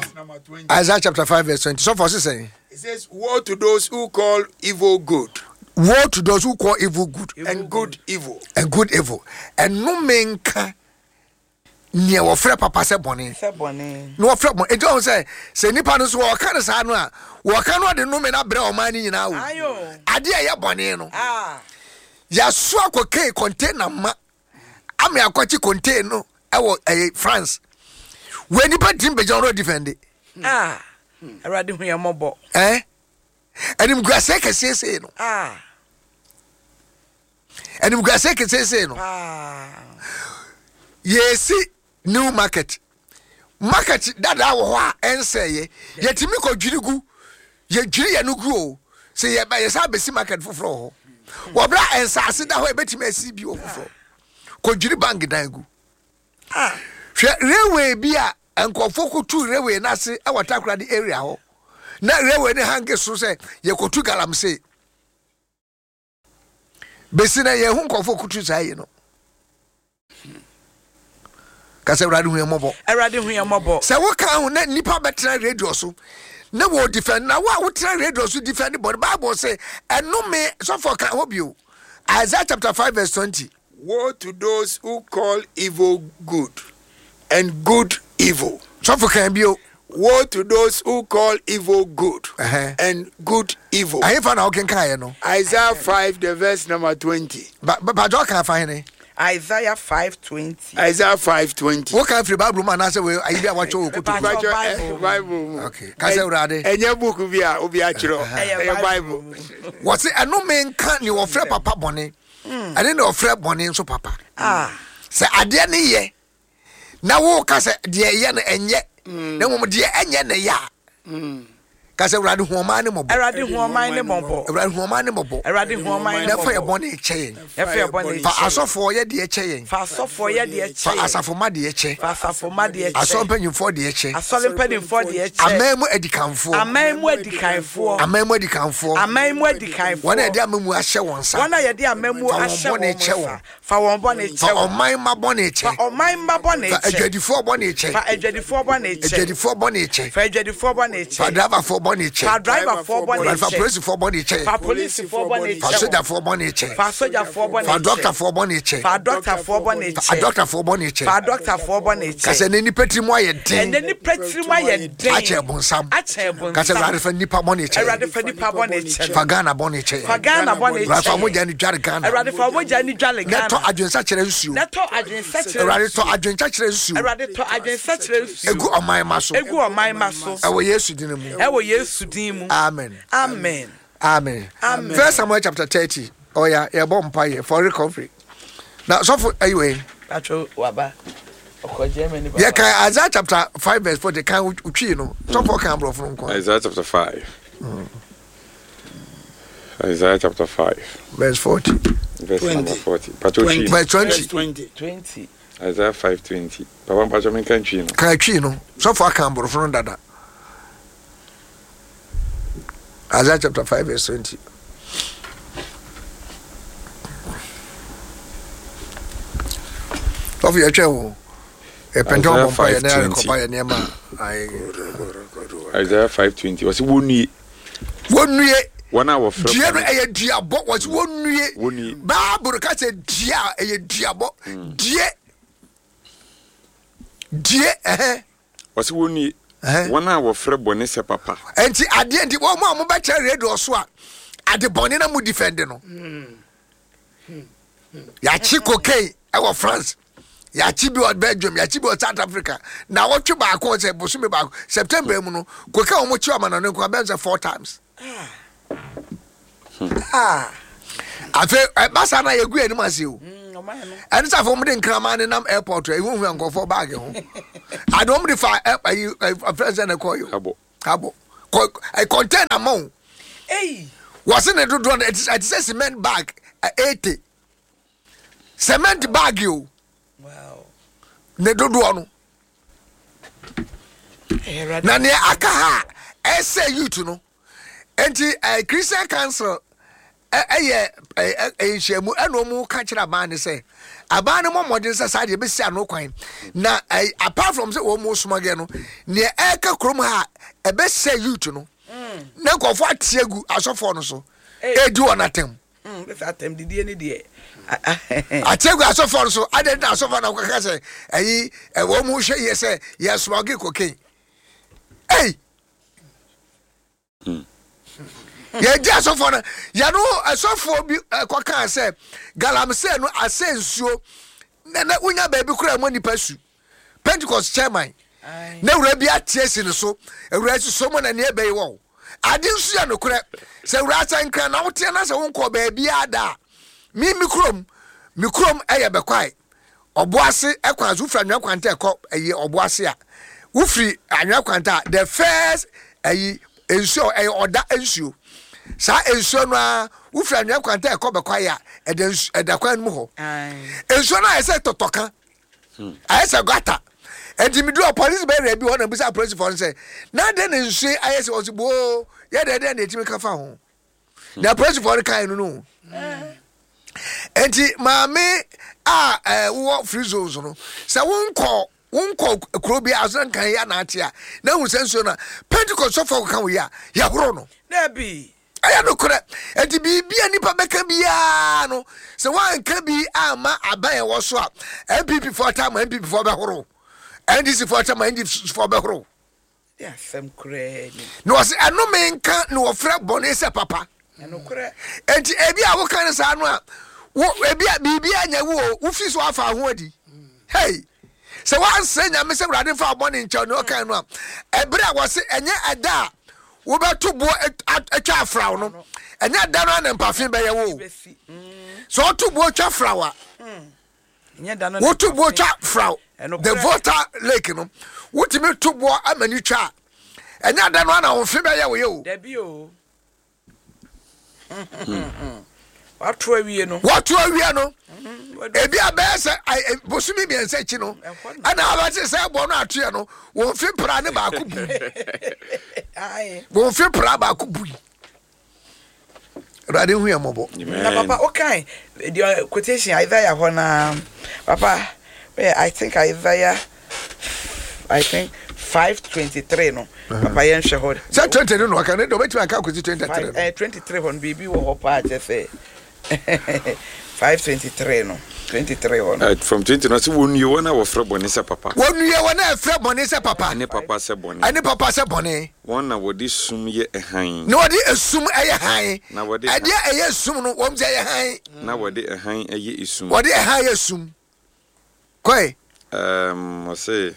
verse number 20. Isaiah chapter 5 verse 20. Sɔfo ɔse sɛn? It says, Woe to those who call evil good. Woe to those who call evil good. And good evil. And good evil. Ɛnome nka nea wɔfrɛ papa sɛ bɔne. Sɛ bɔne. Na wɔfrɛ bɔne. Enti ɔho sɛ sɛ nipa no so wɔka no saa no a wɔka no ɔde nome no abrɛ ɔman no nyinaa o. Adeɛ a ɛyɛ bɔne no. Ah. Yɛasoa cocaine container ma ama akɔkye container no ɛwɔ ɛyɛ France. Wɔ nipa tim bɛgyina ɔno defend. Ah. Awurade hu yɛn mmɔbɔ. Eh? Animguaseɛ kɛseɛ sei no. Ah. Animguaseɛ kɛseɛ sei no. Ah. Yɛsi new market. Market dada wɔ hɔ a ɛnsɛeɛ. Yɛtumi kɔdwiri gu. Yɛdwiri yɛn no gu o. Sɛ yɛba yɛsan bɛsi market foforɔ wɔ hɔ. Wɔbrɛ a nsaase da hɔ a yɛbɛtumi asi bi wɔ foforɔ. Kɔdwiri bank dan gu. Ah. Hwɛ railway bi a nkurɔfoɔ kɔtu railway no ase wɔ Takoradi area hɔ. Na railway no hange so sɛ yɛkɔtu galamsey. Bɛsi na yɛhu nkurɔfoɔ kɔtu saa yi no. Ka sɛ Awurade hu yɛn mmɔbɔ. Awurade hu yɛn mmɔbɔ. Sɛ woka ho na nnipa bɛtena radio so na wɔ defend na wo a wotena radio so defend bɔne Bible sɛ ɛnome sɔfoɔ ka ho bio. Isaiah chapter 5 verse 20. Woe to those who call evil good, and good evil. Sɔfo kan bio. Woe to those who call evil good, and good evil. Ɛhefa na wokenkan yɛ no? Isaiah 5, the verse number 20. Ba ba ba ɔka afa hene? Isaiah 5:20. Isaiah 5:20. Woka firi Bible mu anaasɛ wei ayi bi a wɔatwerɛ wɔ kotoku mu? Bible, Bible mu. Okay. Ka sɛ Awurade. Ɛnyɛ book bi a obi atwerɛ. Ɛyɛ Bible. Wɔse ɛnome nka nea wɔfrɛ papa bɔne. Ɛne na ɔfrɛ bɔne nso papa. Sɛ adeɛ no yɛ na woka sɛ deɛ ɛyɛ no ɛnyɛ na mmom deɛ ɛnyɛ na ɛyɛ a ka sɛ Awurade hu ɔman ne mmɔbɔ. Awurade hu ɔman ne mmɔbɔ. Awurade hu ɔman ne mmɔbɔ. Awurade hu ɔman ne mmɔbɔ. Na fa yɛ bɔne kyɛ yɛn. Na fa yɛ bɔne kyɛ yɛn. Fa asɔfoɔ yɛ deɛ kyɛ yɛn. Fa asɔfoɔ yɛ deɛ kyɛ Fa yɛn. asafomma deɛ kyɛ. Fa asafomma deɛ kyɛ. Asɔre mpanimfoɔ deɛ kyɛ. Asɔre mpanimfoɔ deɛ kyɛ. Aman mu adikanfoɔ. Aman mu adikanfoɔ. Aman mu adikanfoɔ. Aman mu adikanfoɔ. Wɔn a yɛde amamuo ahyɛ wɔn nsa. Wɔn a yɛde amamuo Fa wɔn ahyɛ bɔne wɔn kyɛ nsa. wɔn. Fa wɔn bɔne Fa kyɛ wɔn. ɔman mma bɔne Fa kyɛ. ɔman mma bɔne Fa kyɛ. adwadifoɔ bɔne kyɛ. Fa adwadifoɔ bɔne kyɛ. Adwadifoɔ bɔne kyɛ. Fa adwadifoɔ bɔne Fa kyɛ. driverfoɔ bɔne kyɛ. Fa driverfoɔ bɔne Awurade fa kyɛ. polisifoɔ bɔne kyɛ. Fa polisifoɔ bɔne Fa kyɛ wɔn. sogyafoɔ bɔne kyɛ. Fa sogyafoɔ bɔne Fa kyɛ. dɔktafoɔ bɔne kyɛ. Fa adɔktafoɔ bɔne Fa kyɛ. adɔktafoɔ bɔne kyɛ. Fa adɔktafoɔ bɔne Ka kyɛ. sɛ ɛnɛ nnipa tirim ayɛ den. Ɛnɛ nnipa tirim ayɛ den. Akyɛ bonsam. Akyɛ Ka sɛ bonsam. Awurade fa nnipa bɔne kyɛ. Awurade fa nnipa bɔne kyɛ. Fa Ghana bɔne kyɛ. Fa Ghana bɔne kyɛ. Awurade fa mogya no dware Ghana. Awurade fa mogya no dware Ghana. Na tɔ adwensakyerɛ nsuo. Na tɔ adwensakyerɛ Awurade tɔ adwensakyerɛ nsuo. Awurade tɔ adwensakyerɛ nsuo. Egu ɔman ma so. Egu ɔman ma so. Ɛwɔ Yesu din mu. Ɛwɔ Yesu din mu. Amen. Amen. Amen. Amen. First Samuel chapter 30. Ɔya yɛbɔ mpa yɛ for recovery. Na sɔfo ayiwɛ. Patro waba. Ɔkɔ Germany baba. Yɛ kan Isaiah chapter 5 verse 40 kan otwi no. Sɔfo kan aborɔfo no nko. Isaiah chapter 5. Isaiah chapter 5. Verse 40. Verse 20. Number 40. Patro 20. Verse 20. Verse 20. 20. Isaiah 5 20. Papa mpatro menka ntwi no. Kan twi no. Sɔfo aka aborɔfo no dada. Isaiah chapter 5 verse 20. Sɔfo yɛtwɛn wo. Yɛpɛntɛn ɔbɔ mpa yɛ na yɛrekɔba yɛ nneɛma. Isaiah 5:20. Wɔsi wɔnnue. Wɔnnue. Wɔn a wɔfrɛ dua no ɛyɛ duabɔ. Wɔsi wɔnnue. Wɔnnue. Baabolo ka sɛ dua a ɛyɛ duabɔ. Due. Due ɛhɛn. Wɔsi wɔnnue. Wɔn a wɔfrɛ bɔne sɛ papa. Nti adeɛ nti wɔn a wɔbɛkyerɛ radio so a ade bɔne na mo defend no. Yɛakye cocaine ɛwɔ France. Yɛakye bi wɔ Belgium, yɛakye bi wɔ South Africa. Na wɔtwe baako sɛ bosome baako September mu no cocaine wɔn kye ɔma no nko abɛn sɛ four times. Ah. Afei ɛba saa na yɛgu anim ase o. Ɛne sɛ afei wɔn de nkraman ne nam airport a ehuhu nkurɔfoɔ baage ho. Ade wɔn de fa ɛyi afɛn sɛ na ɛkɔ yi o. Abo. Abo. Kɔ container ma o. Wɔsi ne dodoɔ no ɛte sɛ cement bag 80. Cement bag o. Ne dodoɔ no. Na nea aka ha a ɛsɛ youth no. Nti eh, Christian Council ɛyɛ eh, eh, nhyiamu ɛna wɔn ka kyerɛ aban ne sɛ Aban no mmɔ mmɔden sɛ saa deɛ ɛbɛsi ano kwan. Na eh, apart from sɛ wɔn mo smuggle no, nea ɛreka kurom ha a ɛbɛsɛ youth no, na nkurɔfoɔ ate agu asɔfoɔ no so, ɛredi wɔn atɛm. Bɛsɛ atɛm didie ne deɛ. Ate agu asɔfoɔ no so, adɛn na asɔfoɔ na wɔkaka sɛ ɛyi wɔn mo hwɛ yie sɛ yɛ smuggle cocaine. Ei! Yɛgye asɔfoɔ no yɛno asɔfoɔ bi kɔkaa sɛ galamsey no asɛ nsuo na na wonya baabi koraa mu nipa su Pentecost chairman na wura bi ate asi ne so awura si so mu na nea ɛbɛyi wɔ ade nso yɛ nokorɛ sɛ wura sɛ nkran na woteɛ na sɛ wonkɔ baabi ada a me me kurom me kurom ɛyɛ bɛkwae Ɔboase kwan so wofiri anwea kwanta ɛkɔ ɛyi ɔboase a wofiri anwea kwanta a the first ɛyi nsuo ɛyɛ ɔda nsuo saa nsuo no ara wofiri anwea kwanta ɛkɔ bɛkwae a ɛda nsu ɛda kwan no mu hɔ nsuo no ayɛ sɛ tɔtɔka ayɛ sɛ gutter ɛnti mi duro polisi bɛyɛ bi hɔ na bisa apolisifoɔ no sɛ na adɛn na nsuo yi ayɛ sɛ ɔsi boo yɛ dɛ dɛn na etimi ka fa ho. na apolisifoɔ no kae no no nti maame a eh, wowɔ free zones no sɛ wonkɔ wonkɔ kuro bi a so nkan yɛ anaate a na hu sɛ nsuo no a pentecost sɔfoɔ kɔka wo yi a yɛhoro no. Dabi. Ɛyɛ nokorɛ. Nti biribi a nipa bɛka biara no sɛ woanka bi amma aban ɛwɔ so a NPP foɔ taa ma NPP foɔ bɛhoro NDC foɔ taa ma NDC foɔ bɛhoro. Ne asɛm koraa ni. Na ɔse, Ɛnome nka ne wɔfrɛ bɔne sɛ papa. Ɛnokorɛ. Enti ebi a woka no saa no a, wo ebi a biribi anya wo o, wofi so afa ho adi. Hey! Sɛ woansrɛ Nyame sɛ Awurade mfa wo bɔne nkyɛ wo nea ɔkae no a, ɛberɛ a wɔse ɛnyɛ ɛda a wobɛto boɔ atwa afraw no, ɛnyɛ ɛda no ara na mpafe bɛyɛ wo o. Sɛ ɔto boɔ twa fraw a, Woto boɔ twa fraw the Volta Lake no, wotumi to boɔ ama ni twa a, ɛnyɛ ada no ana wo mfe bɛyɛ wo yɛ o. Dabi o. Wato awie no. Wato awie no. Ebi a bɛyɛ sɛ bosome mmiɛnsa akyi no, ɛna abɛte sɛ ɛboɔ no atoyɛ no, wɔn mfe pra ne baako bui. Wɔn mfe pra baako bui. Awurade hu yɛn mmɔbɔ. Na papa o kan deɛ quotation Isaiah hɔ naa papa eh, I think Isaiah I think 523 no papa yɛn hwɛ hɔ. Sɛ 20 no na ɔka ne deɛ ɔbɛtumi aka akɔsi 23 no. Eh, 23 hɔ no biribi wɔ hɔ paa kyɛ sɛ 523 no 23 hɔ no. From 20 no sɛ wɔnnue wɔn a wɔfrɛ bɔne sɛ papa. Wɔnnue wɔn a ɛfrɛ bɔne sɛ papa. Ɛne papa sɛ bɔne. Ɛne papa sɛ bɔne. Wɔn na wɔde sum yɛ hann. Na wɔde esum yɛ hann. Na wɔde. Ɛdeɛ ɛyɛ esum no, wɔn sɛ ɛyɛ hann. Na wɔde hann yɛ esum. Wɔde hann yɛ esum. Kɔe. Ɛɛm, ɔse,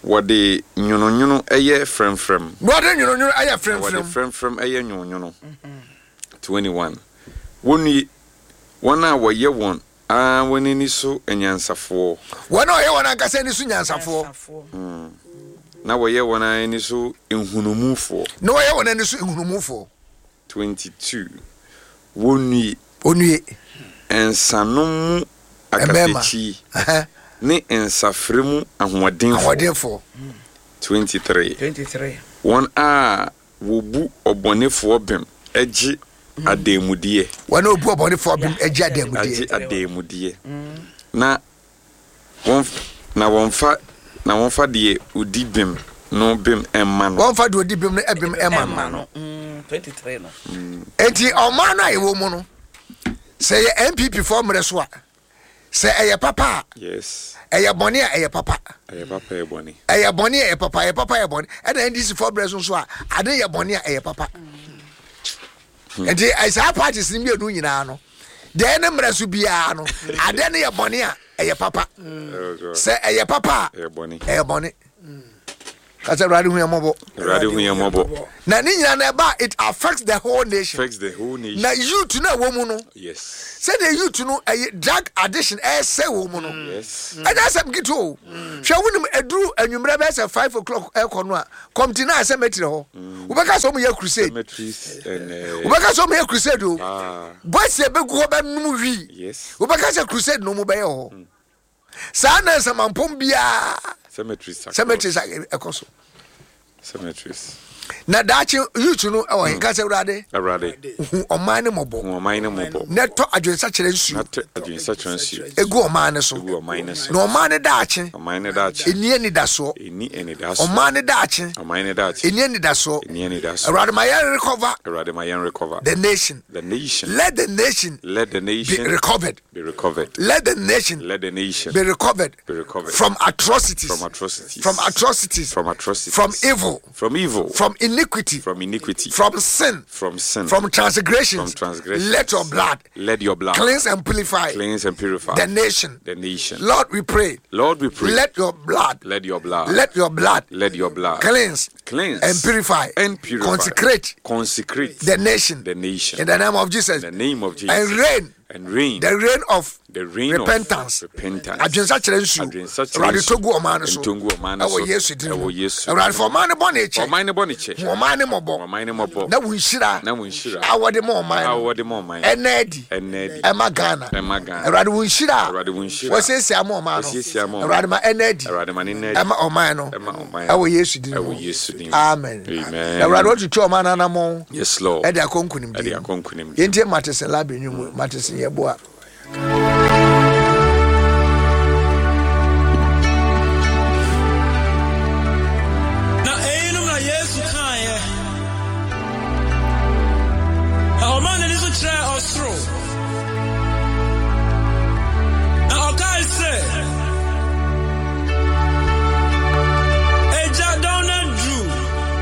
wɔde nwononwono yɛ frɛmfrɛm. Na wɔde nwononwono yɛ frɛmfrɛm. Na wɔde frɛmfrɛm yɛ nwononwono. 21. Wɔnnue, wɔn a wɔyɛ wɔn ara wɔn ani so anyansafoɔ. Wɔn a wɔyɛ wɔn ankasa ani so nyansafoɔ. Na wɔyɛ wɔn ara ani so nhunumufoɔ. Na wɔyɛ wɔn ani so nhunumufoɔ. 22. Wɔnnue. Wɔnnue. Nsanom mu akatakyi ne nsafrɛ mu ahoɔdenfoɔ. Ahoɔdenfoɔ. 23. Wɔn a Wɔbu ɔbɔnefoɔ bem gye adanmudeɛ. Wɔn a wɔbu ɔbɔnefoɔ bem gye adanmudeɛ. Gye adanmudeɛ. Na wɔn na wɔmfa na wɔmfa deɛ ɔdi bem no bem mma no. Wɔmfa deɛ ɔdi bem no bem mma no. Enti ɔman no a yɛwɔ mu no, sɛ yɛ NPP foɔ mmerɛ so a, Sɛ ɛyɛ papa a, Yes. ɛyɛ bɔne a ɛyɛ papa. Ɛyɛ papa ɛyɛ bɔne. Ɛyɛ bɔne a ɛyɛ papa, ɛyɛ papa ɛyɛ bɔne. Ɛna NDC foɔ brɛ so nso a, ade yɛ bɔne a ɛyɛ papa. Nti eh, saa parties no mmienu nyinaa no, deɛ ɛne mmerɛ so biara no, ade no yɛ bɔne a ɛyɛ papa. Oh God. Sɛ ɛyɛ papa a, Ɛyɛ bɔne. ɛyɛ bɔne. Ka sɛ Awurade hu yɛn mmɔbɔ. Awurade hu yɛn mmɔbɔ. Na ne nyinaa na ɛba it affects the whole nation. Affects the whole nation. Na youth no a ɛwɔ mu no. Yes. Sɛdeɛ youth no ɛyɛ drug addiction ɛsɛ wɔ mu no. Yes. Ɛnyɛ asɛm ketewa o. Hwɛ wonim ɛduru anwummerɛ bɛyɛ sɛ 5 o'clock ɛkɔ no a kɔmti na cemetery hɔ. Wobɛka sɛ wɔn yɛ crusade. Cemeteries and. Wobɛka sɛ wɔn yɛ crusade o. Ah. Boys ɛbɛgu hɔ bɛnom wii. Yes. Wobɛka sɛ crusade na wɔn bɛyɛ wɔ hɔ. Saa na nsamampɔn biara Cemeteries. Cemeteries ɛkɔ so. Cemeteries. Na daakye youth no ɛwɔ he? Ka sɛ, Awurade, Awurade, hu ɔman no mmɔbɔ. Hu ɔman no mmɔbɔ. Na tɔ adwensakyera nsuo. Na tɔ adwensakyera nsuo. Egu ɔman no so. Egu ɔman no so. Na ɔman no daakye. Ɔman no daakye. Ɛnni anidasoɔ. Ɛnni anidasoɔ. Ɔman no daakye. Ɔman no daakye. Ɛnni anidasoɔ. Ɛnni anidasoɔ. Awurade ma yɛn recover. Awurade ma yɛn recover. The nation. The nation. Let the nation. Let the nation. Be recovered. Be recovered. Let the nation. Let the nation. Be recovered. Be recovered. From atrocities. From atrocities. From atrocities. From atrocities. From evil. From evil. From iniquity. From iniquity. From sin. From sin. From transgressions. From transgressions. Let your blood. Let your blood. Cleanse and purify. Cleanse and purify. The nation. The nation. Lord, we pray. Lord, we pray. Let your blood. Let your blood. Let your blood. Let your blood. Cleanse. Cleanse. And purify. And purify. Consecrate. Consecrate. The nation. The nation. In the name of Jesus. In the name of Jesus. And reign. And reign. The reign of the reign repentance. Of repentance. Adwensakyerɛ nsuo. Adwensakyerɛ Awurade nsuo. tɔ gu ɔman no so. Ntɔ gu ɔman no so. Ɛwɔ Yesu din mu. Ɛwɔ Yesu. Awurade fa ɔman no bɔne kyɛ. Ɔman no bɔne kyɛ. Hu ɔman no mmɔbɔ. Ɔman no mmɔbɔ. Na wo nhyira. Na wo nhyira. A wɔde ma ɔman no. A wɔde ma ɔman no. Ɛnna adi. Ɛnna adi. Ɛma Ghana. Ɛma Ghana. Awurade wo nhyira. Awurade wo nhyira. Wɔsiesie ama ɔman no. Wɔsiesie ama ɔman. Awurade ma ɛnna adi. Awurade ma ne nna adi. Ɛma ɔman no. Ɛma ɔman no. Ɛwɔ Yesu din mu. Ɛwɔ Yesu din mu. Amen. Amen. Awurade wɔtutu ɔman no anamɔn. Yes Lord. Ɛde akɔ nkunimdie. Ɛde akɔ nkunimdie. Yɛntie Matese Labi nnwom. Matese Yeboah.